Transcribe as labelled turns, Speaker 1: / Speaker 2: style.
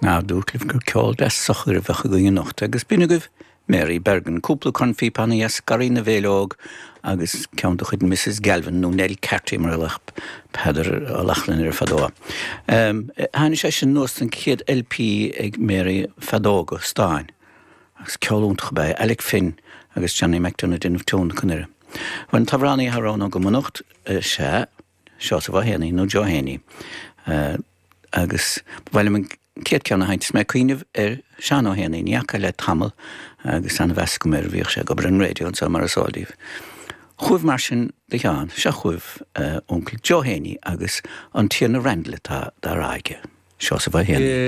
Speaker 1: Ná dúirt libh gur ceol deas socair a bheadh againn anocht agus b'in agaibh Mary Bergin, cúpla cornphípeanna as Garraí na bhFéileog agus ceann de chuid Mrs Galvin, nó Nell Carty mar a ghlaodh Peadar Ó Lochlainn uirthi fadó. Tháinig sé sin anuas den chéad LP ag Mary Feadóga Stáin agus ceol iontach ab ea é, Alec Finn agus Johnny McDonagh ag déanamh tionlacan uirthi. Bhuel, an t-amhránaí atá roghnaithe agam anocht, sea, Seosamh Ó hÉanaí nó Joe Héanaí. Agus ba mhaith liom an chéad ceann a sheinnt is mé ag cuimhneamh ar Seán Ó hÉanaí, ní fhaca le tamall agus an-mheas agam air, bhíodh sé ag obair ar an raidió anseo mar is eol daoibh. Chugaibh mar sin do Sheán, seo chugaibh Uncail Joe Héanaí agus an Tiarna Randall atá dá rá aige, Seosamh Ó hÉanaí.